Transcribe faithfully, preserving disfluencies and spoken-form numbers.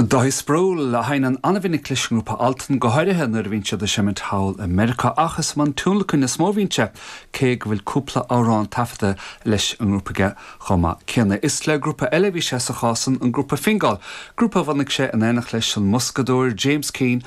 Dáithí Sproule a sheinneann an-mhinic leis an ngrúpa Altan go háirithe nuair a bhíonn siad ag seimint thall i Meiriceá ach is i mbun tionlacain is mó a bhíonn sé cé go bhfuil cúpla amhrán taifeadta leis an ngrúpa aige chomh maith céanna. Is le grúpa eile bhí sé sa chás san an grúpa Fingal, grúpa a bhunaigh sé in éineacht leis an mboscadóir James Keane